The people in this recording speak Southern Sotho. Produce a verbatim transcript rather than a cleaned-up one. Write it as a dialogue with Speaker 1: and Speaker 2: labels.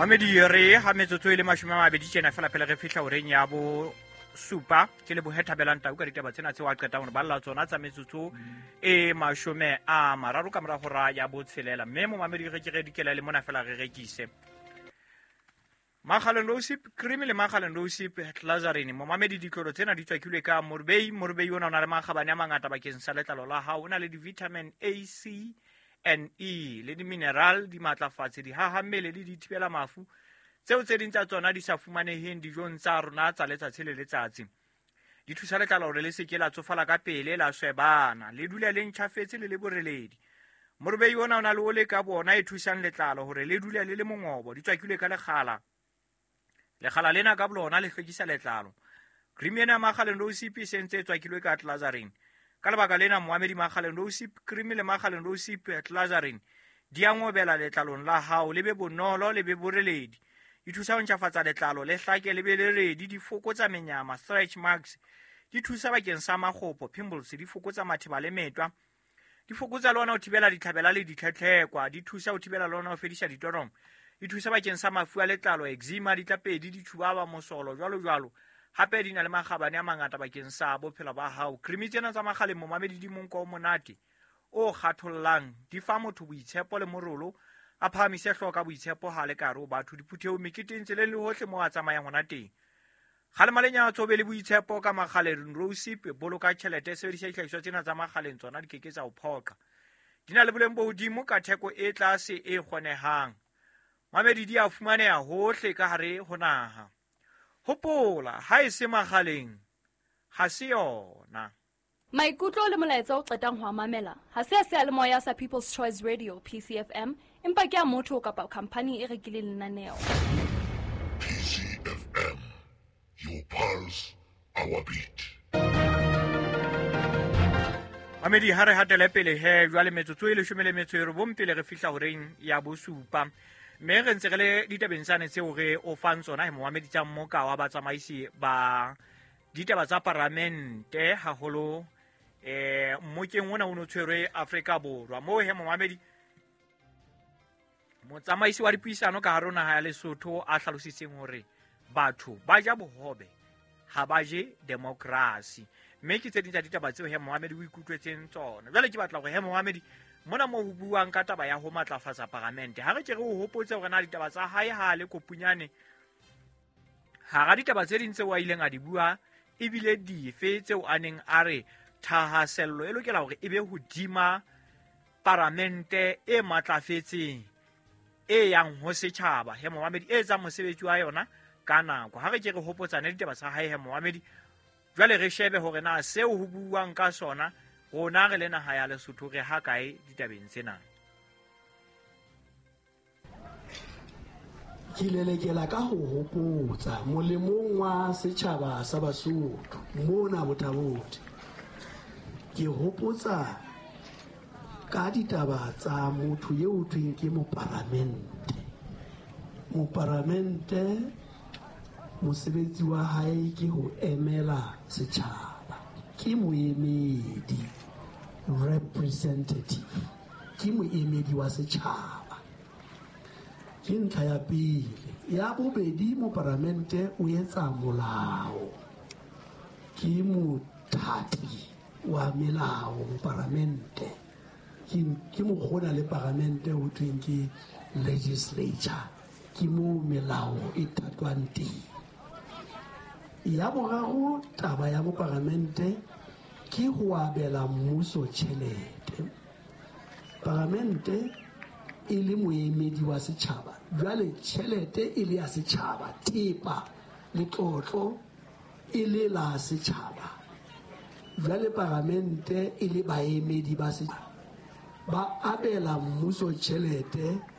Speaker 1: Mamedi, re ha metsotso e le mashome a mabedi tjena fela pele re fihla horeng ya bo supa. Ke lebohe Thabelang Tau ka ditaba tsena tseo a qetang hore balla tsona tsa metsotso e mashome a mararo ka mora hora ya botshelela. Mme momamedi, re ke re dikela le mona fela re rekise Makgaleng Rosip Cream le Makgaleng Rosip Glycerin. Momamedi, ditlolo tsena di tswakilwe ka morubei. Morubei ona o na le makgabane a mangata bakeng sa letlalo la hao. O na le di-vitamin A, C and E le di-mineral, di matlafatse, di haha mmele le di thibela mafu tseo tse ding tsa tsona di sa fumaneheng dijong tsa rona tsa letsatsi le letsatsi. Di thusa letlalo hore le se ke la tsofala ka pele, la swebana, le dule le ntjhafetse le le boreledi. Morubei ona o na le ole ka bona e thusang letlalo hore le dule le le mongobo. Di tswakilwe ka lekgala. Lekgala lena ka bolona le hlwekisa letlalo. Cream ena ya Makgaleng Rosip e sentse e tswakilwe ka glycerin. Ka lebaka lena, moamedi, Makgaleng Rosip Cream le Makgaleng Rosip Glycerin di a ngobela letlalong la hao, le be bonolo, le be boreledi. Di thusa ho ntjhafatsa letlalo, le hlake, le be le redi. Di fokotsa menyama, stretch marks. Di thusa bakeng sa makgopo, pimples. Di fokotsa matheba le metwa. Di fokotsa le ona ho thibela ditlhabela le ditlhetlhekwa. Di thusa ho thibela le ona ho fedisa ditoromo. Di thusa bakeng sa mafu a letlalo, eczema, ditlapedi, ditjhubaba, mosolo, jwalo jwalo. Hape di na le makgabane a mangata bakeng sa bophelo ba hao. Cream tsena tsa Makgaleng, momamedi, di monko o monate o kgathollang. Di fa motho boitshepo le morolo, a phahamise hlooho ka boitshepo ha le ka hare ho batho, diphuthehong, meketeng, tseleng le hohle moo a tsamayang hona teng. Kgalema lenyatso, be le boitshepo ka Makgaleng Rosip. Boloka tjhelete, sebedisa dihlahiswa tsena tsa Makgaleng, tsona di ke ke tsa o phoqa. Di na le boleng bo hodimo ka theko e tlase e kgonehang. Mamedi, di a fumaneha hohle ka hare ho naha. Hopola, ha e se Makgaleng ha se yona.
Speaker 2: Maikutlo le molaetsa o qetang ho a mamela ha se a seyalemoya sa People's Choice Radio, P C F M, empa ke a motho kapa khamphani e rekileng lenaneo.
Speaker 3: P C F M, your pulse, our beat.
Speaker 1: Mamedi, ha re hatele pele he jwale, metsotso e leshome le metso e robong pele re fihla horeng ya bosupa, mme re ntse re le ditabeng tsane tseo re o fang tsona he, momamedi, tsa mmoka wa batsamaisi ba ditaba tsa paramente haholo eh mmokeng ona o no tshwerwe Afrika Borwa moo he, momamedi, motsamaisi wa dipuisano ka hare ho naha ya Lesotho a hlalositseng hore batho ba ja bohobe, ha ba je democracy. Mme ke tse ding tsa ditaba tseo he, momamedi, o ikutlwetseng tsona. Jwale ke batla hore he, momamedi, mona moo ho buang ka taba ya ho matlafatsa paramente, ha re ke re o hopotse hore na ditaba tsa hae ha le kopunyane hara ditaba tse ding tseo a ileng a di bua ebile dife tseo a neng a re thahasello e lokela hore e be hodima paramente e matlafetseng e yang ho setjhaba he, momamedi, e etsang mosebetsi wa yona ka nako. Ha re ke re hopotsane ditaba tsa hae he, momamedi. Jwale re shebe hore na seo ho buuwang ka sona, rona re le naha ya Lesotho re ha kae ditabeng tsena.
Speaker 4: Ke lelekela ka ho hopotsa molemong wa setjhaba sa Basotho mona Botha-Bothe. Ke hopotsa ka ditaba tsa motho eo thweng ke moparamente. Moparamente mosebetsi wa hae ke ho emela setjhaba, ke moemedi, representative, ke moemedi wa setjhaba. Ke ntlha ya pele. Ya bobedi, moparamente o etsa molao, ke mothati wa melao moparamente, ke mokgona le paramente ho thweng ke legislature, ke moo melao e thatwang teng. Ya boraro, taba ya moparamente ke ho abela mmuso tjhelete. Paramente e le moemedi wa setjhaba, jwale tjhelete e le ya setjhaba, thepa letlotlo e le la setjhaba, jwale paramente e le baemedi ba setjhaba ba abela mmuso tjhelete.